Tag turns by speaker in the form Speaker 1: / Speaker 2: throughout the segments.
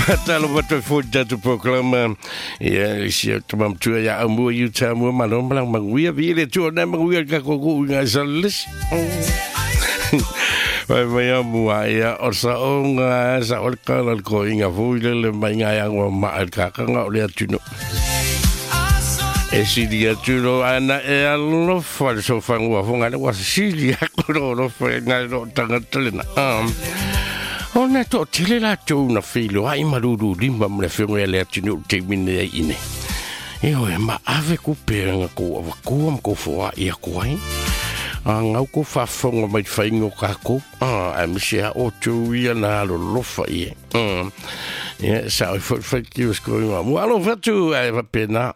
Speaker 1: Fatalo watu fo tatu programa. Ia isi o tama matua ia au mua i uta mua malo malang manguia vi le tu na manguia ka ko ku nga salis. Vai mai a mua ia o sa o nga sa o ka la ko inga fu le le mai nga ya ngwa ma al ka ka nga o le atu no. E sili atu lo ana e alofa le sofa ngua fonga le wa sili aku lo lo fa nga lo tangata le na. O na to tele la tou na filo ai malulu lima mo le fengo ya le atu no te mine ai ine. E o e ma ave ku pe nga ko awa ko am ko fo a ia ko ai. A ngau ko fa fonga mai whaingo ka ko. A misi a o tu ia na alo lofa ia. Ia sa o fo fo ki os ko inga. Mo alo fatu ai fa pena.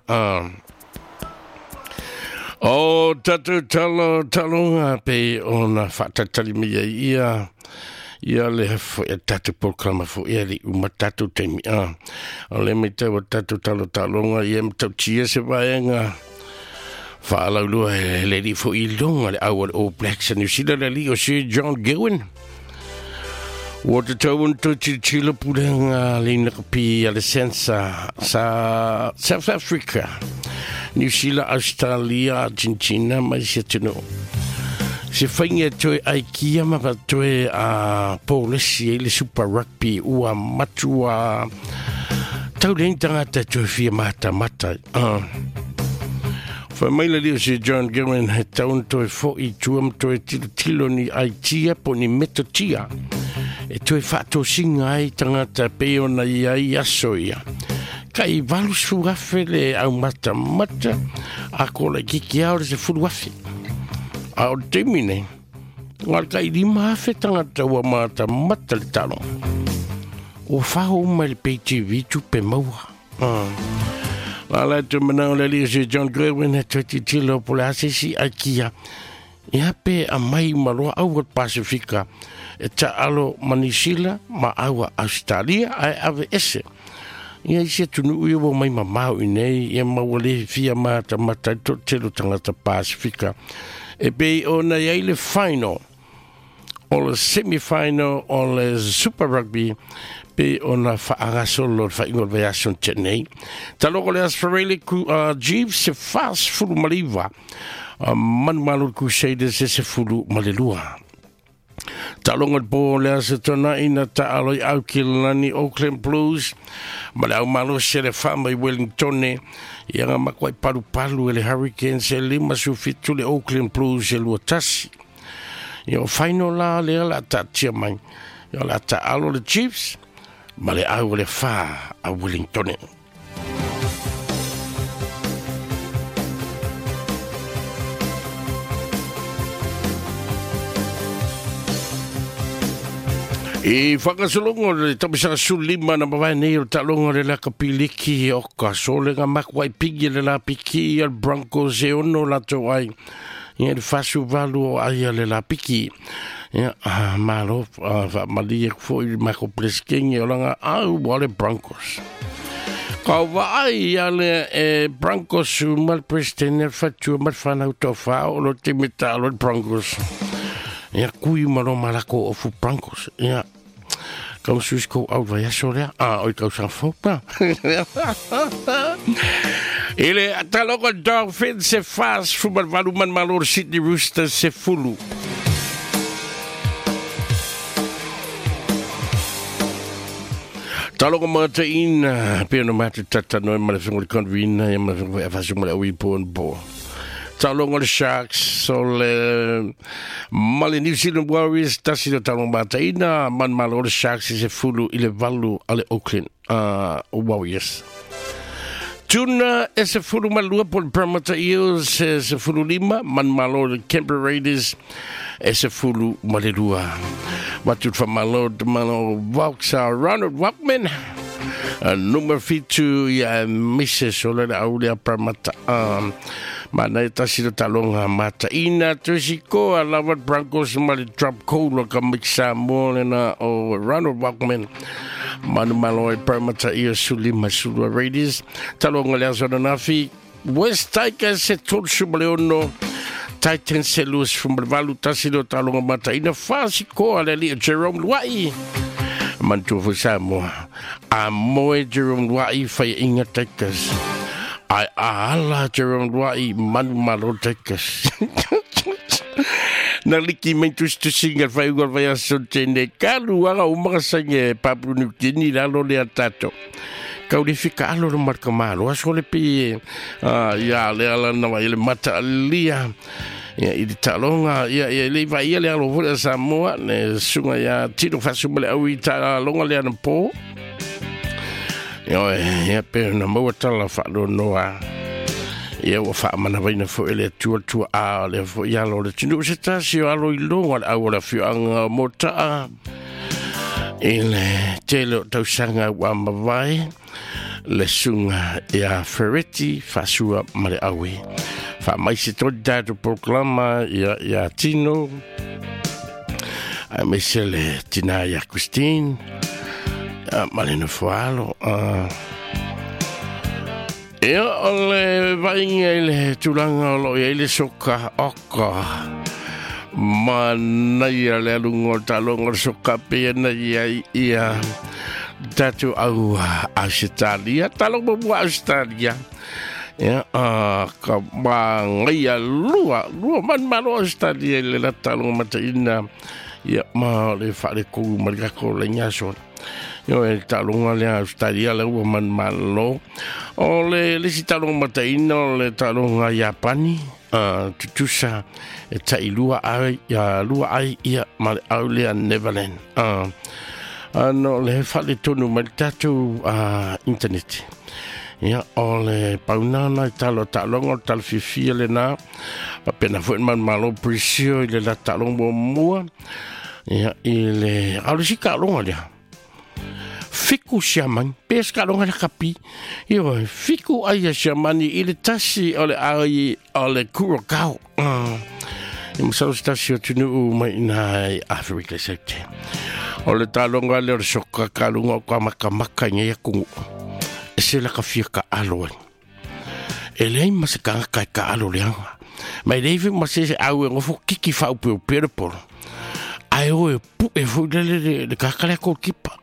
Speaker 1: O tatu talo talonga pe o na whaatatali mi ia ia. Ia le fo e tatu programa fo ia li uma tatu teimi. O le me tau tatu talo talonga ia mtau tia se vaenga. Whaalaulua e le li fo i longa le au o All Blacks a New Zealand le li o Sir John Gowen. Ua te tau un tau tilo pulenga le ina kapi a le sensa sa South Africa, New Zealand, Australia, Argentina, mai se tino. Se whainga toe ai kia ma pa toe a Paulesi e le Super Rugby ua matua tau le tangata toe fia mata mata. Whai mai le leo se John Gowen he taun toe fo i tuam toe tilo tilo ni ai tia po ni meto tia. E toe whaatosinga ai tangata pe ona i ai aso ia. Ka i valusu afe le au mata mata a ko le kiki au le se fulu afe. A o te mine, ngā ka i lima afe tangata ua mata mata le talo. O whaho mai le PTV tupe maua. La la te manao le lia se John Gowen he toe titilo po le asesi ai kia. Ia pe a mai maloa au Pasifika e ta alo Manisila ma aua Australia ai ave ese. Ia isi tunu ui o mai mamau i nei ia maua le fia mata mata to telo tangata Pasifika. E pe o na ia le final o le semi-final o le Super Rugby pe o na whaagasolo le whaingo le ason te nei. Taloko le Asfarele ku Jeeves se fas fulu maliva. Manu malo Crusaders se se fulu malelua. Talonga po le asa tona ina ta aloi au ki lani Auckland Blues. Ma le au malo se le whama i Wellingtone. Ia ngā makwai palu palu e le Hurricanes e lima su fitu le Auckland Blues e lua tasi. Ia o final la le la ta tia mai. Ia la ta alo le Chiefs. Ma le au le wha a Wellingtone. I whakasolongo le tamisa sulima na mawai nei o talongo le laka piliki o ka sole ngā makwai pigi le la piki al Broncos e ono la tau ai. Ia le fasu valu o ai le la piki. Ia malo wha malia fo i mako pleskengi o langa au wale Broncos. Ka wa ai ale e Broncos mal president fatua mal whanau tau whao o lo te meta alo Broncos. Ia kui malo malako o fu Broncos. Ia kau sus ko au vai aso lea. Ah, oi kau sa fopa. Ele ataloko Dolphins se fas fu malvalu man malo Sydney Roosters se fulu. Taloko mata ina, pe no mata tata noi ma le fengo le convina, ia ma le fengo e fasu ma le ui po en po. Talongo le Sharks, so le male New Zealand Warriors, tasi le talongo mata ina, man malo le Sharks se fulu i le valu ale Auckland Warriors. Tuna e se fulu malua po le Parramatta Eels e se fulu lima, man malo le Canberra Raiders e se fulu malelua. Watu whamalo te malo Vox, Ronald Walkman. Nummer 7 ia Mrs. o le au lea Parramatta. Ma nei tasi le talonga mata ina tusi ko a lava Broncos ma le drop call ka mixa mo le na o Ronald Walkman. Manu malo e Parramatta ia suli masulua Raiders. Talonga le aso na nafi West Tigers se tolu maleono Titans se Lewis Fumalvalu tasi le talonga mata ina fasi ko a le li Jerome Luai. Manatua foi Samoa a moe Jerome Luai faiaʻiga Tigers ae a ala Jerome Luai manumalo Tigers. Na liki mai tusitusiga le faaiuga o le vaiaso tene kaluaga uma kasagi e Papua New Guinea lalo lea tatou kau le fika alo le marka malo aso le pe ia le ala na vai le mata alia ia i le taaloga ia ia le vai ia le alo foi a Samoa le suga ia Tino Faasuma le au i taaloga le anapo ia ia pe na maua tala faanoanoa ia ua faamanavaina foi le Atua tua a le foi alo le atunuu se tasi o alo i luga le au o le afioaga o Motaa i le tele o tausaga ua mavae le suga ia Fereti Faasua ma le Aue. Faamaise tonu tatou programa ia ia Tino aemaise le tina ia Christine ma le nofoalo. Ia o le vaaiga i le tulaga o lo o i ai le soka oka manaia le aluga o le taaloga o le soka pei ona i ai ia tatou au Ausetalia, taaloga muamua Ausetalia. Ia, ka magaia lua, lua manumalo Ausetalia i le la taaloga mataina ia ma le faaletonu ma le tatou laina aso. Io e taaloga lea Australia lea ua manumalo. O le isi taaloga mataina o le taaloga Iapani, tutusa e tailua ai, ia lua ai ia ma le au lea Neverland. Ano le faaletonu mai le tatou internet. Ia, o le paunana i talo taaloga o le tala fiafia lena. Faapena foi manumalo Brazil i le la taaloga muamua. Ia, i le, a o le isi taaloga lea. Fiku siamani, pe se taaloga le kapi. Ia, fiku ai a siamani i le tasi o le ai o le Curacao. Ia masalo se tasi o atunuu mai ina i Afrika Saute. O le taaloga lea o le soka kaluga o ka makamaka i nei atunuu. E se la ka fia ka alo ai. E leai ma se tagata e taalo leaga. Ma e leai foi ma se se au e gofo kiki faaopeopea le polo. Ae o e puʻe foi lele le, le tagata lea goalkeeper.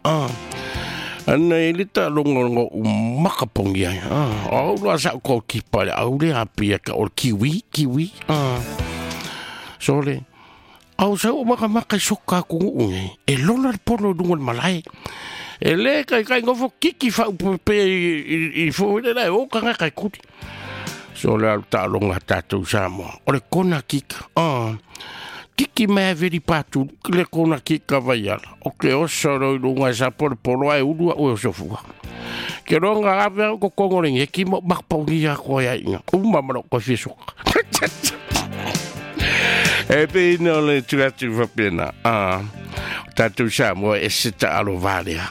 Speaker 1: Ana e le taaloga o lo'u makapogi ai. O au loa sa'u goalkeeper le au lea apia ka o le kiwi, kiwi. Sole, au sau o makamaka i soka atunuu nei, e lola le polo i luga o le malae. E le kaikai gofo kiki faaupepea i, i, i fo le la e o tagata e kuli. So le alu taaloga a tatou Samoa. O le kona kika. Kiki mai a veri patu le kona kika vaiala. O ke oso ro i lunga e sa polo polo ai ulu a ue o sofua. Ke roanga ave au ko kongo le ngeki mo makapauni ia koa ia inga. Uma ma lou koe fia soka. E pei ina o le tu atu faapena. O tatou Samoa e se taalo valea.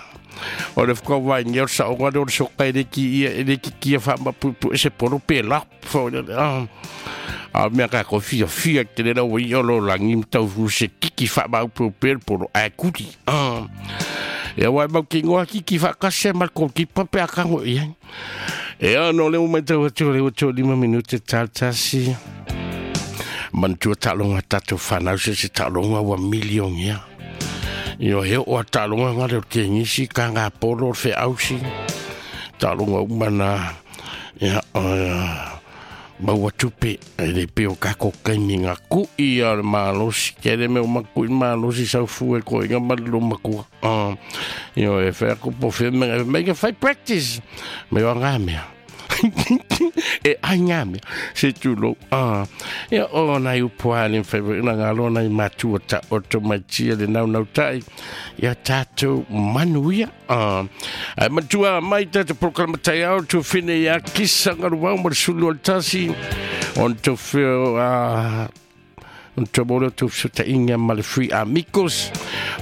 Speaker 1: O le whakawai o le saoga lea o le soka e le ki ia, e le ki kia whaamapupu e se polo pe la. A mea ka ko fia fia te le lau i o lo langi mtau fu se kiki whaamaupu pe le polo a kuri. Ia wai mau ki ngoa kiki whaakase ma le goalkeeper pe a kango ia. E ano le umai tau atu le atu 5 minute tasi. Manatua taaloga tatou fanau se se taaloga ua milioni ia. Io he o a taaloga ngale o le tenisi, ka ngā polo o le feausi. Taaloga uma na ia o maua tupe e le pe o kako kaimi ngā kui a le malosi. Ke le mea o makui malosi sau fu e koe ngā mali lo makua. Io e whea ko po whea mea, make a fai practice. Me o ngā mea. E ai ngā mea, se tūlou. Ia o nai upu a le whai na ngā loa nai matua ta o tō mai tia le nau nau tai. Ia tātou manuia. Ai matua mai tātou programa tai au tō whine ia kisa ngaru wau ma le sulu o le tasi. On tō whio on tō mōreo tō whio ma le Free Amigos.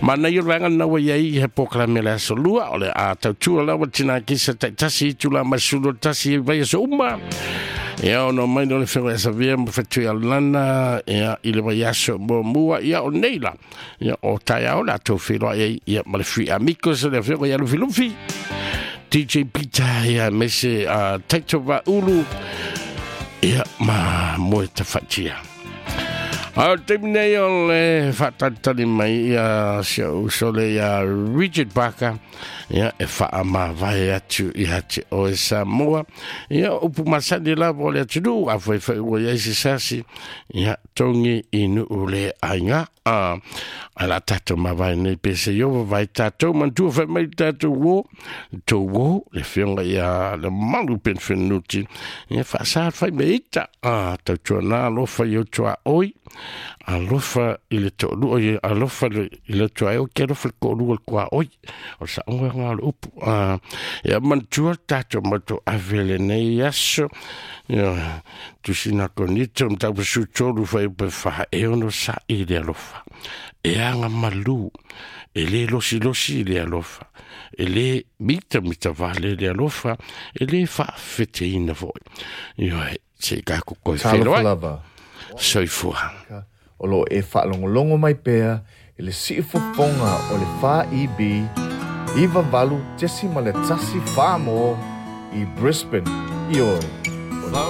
Speaker 1: Ma nei o le vaega na ua iai he polokalame le aso lua o le a tautua lawa tina kisa tai tasi tula ma sulu o le tasi e vai aso uma. Ia ono mai no le whenua e savia ma whetui a lana ia i le vai aso mua mua ia o nei la. Ia o tai ao la tō whiroa ia ia ma le Free Amigos le whenua ia Lufi Lufi. DJ Peter ia me se Taito Vaulu ia ma moe tawhatia. A o le taimi nei o le faatalitali mai ia si ou uso le ia Richard Barker, ia e faamavae atu ia te oe Samoa. Ia upu masani lava o le atunuu, a foi foi ua i ai se sasi, ia togi i nuu le aiga. A a la tatou mavae nei pe se iova vai tatou manatua fai mai tatou uo, le tou uo, le afioga ia Lemalu Penefenuti, ia faasa fai me ita, a tautuana alofa i ou tuaoi, alofa i le toalua, alofa i le tuaoi, ke alofa i le toalua le tuaoi, o le saoga lena o le upu. A ia manatua tatou matou ave lenei aso, ia tusina Konito mataupu 13 fuaiupu 4, e ono sa'i le alofa, e aga malu, e le losilosi le alofa, e le mitamitavale le alofa, e le faafeteina foi. Ioe, se i tatou toe
Speaker 2: Talofa
Speaker 1: feiloai.
Speaker 2: lava.
Speaker 1: Soifua.
Speaker 2: O lo o e faalogologo mai pea i le siufofoga o le 4EB 98.1 Samoa i Brisbane. Ioe.